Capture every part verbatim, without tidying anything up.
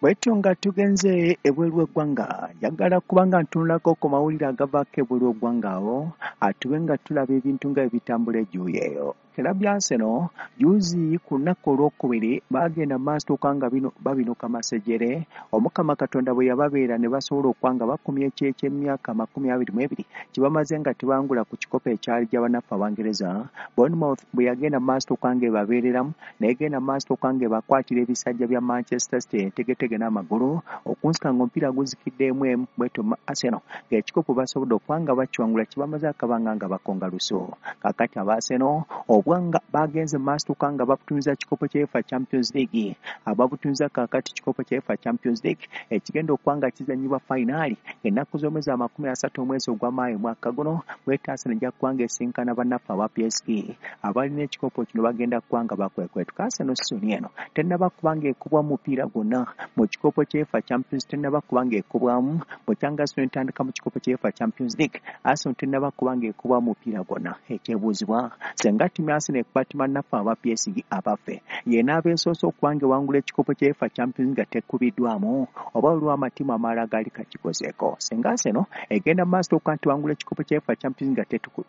Bwetyo nga tugenze ebweru w'eggwanga, njagala kubanga ntunulako ku mawulire agavaako ebweru w'eggwanga awo, atube nga tulaba ebintu nga ebitambula ejuuyi eyo. Club ya Arsenal juzi ku lunaku olwokubiri baagenda maaso nga bino babinuka masejere. Omukama Katonda bwe yababeera ne basobola okuba nga bakumya eky'emyaka amakumi abiri mu ebiri kye bamaze nga tebangula ku kikopo ekyali gy'abannaffe Abangereza. Bournemouth bwe yagenda maaso nga ebabeereramu, n'egenda maaso nga ebakwatira ebisajja bya Manchester City entegetege n'amagulu okunsika ng'omupiira guzikidde emu emu. Bwetyo Arsenal ng'ekikopo basobodde okuba nga bakiwangula kye bamaze akabanga nga bakonga lusu. Kaakati aba Arsenal obwanga bagenze maaso nga babutumiza kikopo kya UEFA Champions League, ababutumiza kaakati kikopo kya UEFA Champions League ekigenda okuba nga kizannyibwa fayinaali ennaku z'omwezi amakumi asatu omwezi ogwa Maayi mwaka guno. Bwetyo Arsenal ejja kuba nga esinkana bannaffe aba P S G abalina ekikopo kino, bagenda kuba nga bakwekwetuka. Arsenal season eno tennaba kuba nga ekubwa mupiira gwonna mu kikopo kya UEFA Champions, tennaba kuba nga ekubwamu bwekyanga Arsenal etandika mu kikopo kya UEFA Champions League, Arsenal tennaba kuba nga ekubwa mupiira gwonna. Ekyebuuzibwa senga ttiimu ya Arsenal ekuba ttiimu bannaffe aba P S G abaffe yenna abeesoose okuba nga ewangula ekikopo kya UEFA Champions nga tekubiddwamu, oba waliwo amatiimu amalala gaali kakikozeeko. Senga Arsenal egenda mu maaso okuba nti ewangula ekikopo kya UEFA Champions nga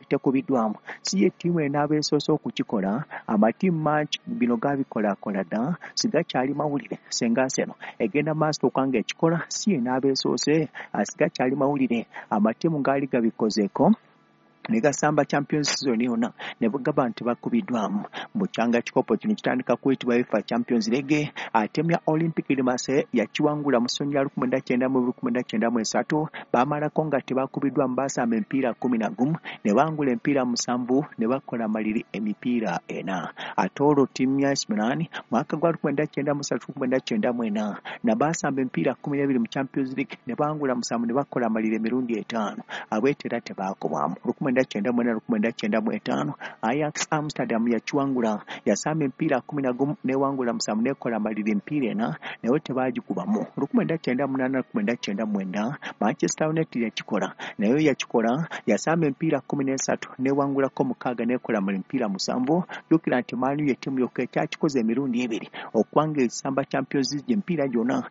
tekubiddwamu, si ye ttiimu enaaba esoose okukikola. Amatiimu mangi bino gabikolaakola dda, sigakyali mawulire. Senga Arsenal egenda mu maaso okuba nga ekikola, si yenaaba esoose, sigakyali mawulire. Amatiimu gaali gabikozeeko ne gasamba Champions season yonna ne bugaba nti bakubiddwamu. Bukyanga kikopo kino kitandika kuyitibwa UEFA Champions League, ate ya Olympic de Marseille yakiwangula mu ssonyi lya lukumi mwenda kyenda mu lukumi mwenda kyenda mu esatu, baamalako nga tebakubiddwamu, baasamba emipiira kkumi na gumu ne bangula emipiira musanvu ne bakola maliri emipiira ena. Ate olwo ttiimu ya A C Milan mwaka gwa lukumi mwenda kyenda mu ssatu lukumi mwenda kyenda mu ena na baasamba emipiira kkumi n'ebiri mu Champions League ne bangula musanvu ne bakola maliri emirundi etaano, abwetera tebaakubwamu. Lukumi mwenda kyenda mu ena lukumi mwenda kyenda mu etaano Ajax Amsterdam yakiwangula, yasamba emipiira kkumi na gumu n'ewangula musanvu n'ekola maliri emipiira ena naye tebaagikubamu. Lukumi mwenda kyenda munaana lukumi mwenda kyenda mwenda Manchester United yakikola, nayo yakikola, yasamba emipiira kkumi n'esatu n'ewangulako mukaaga n'ekola maliri emipiira musanvu. Jjukira nti Man U ye ttiimu yokka ekyakikoze emirundi ebiri okuba nga esamba Champions League emipiira gyonna.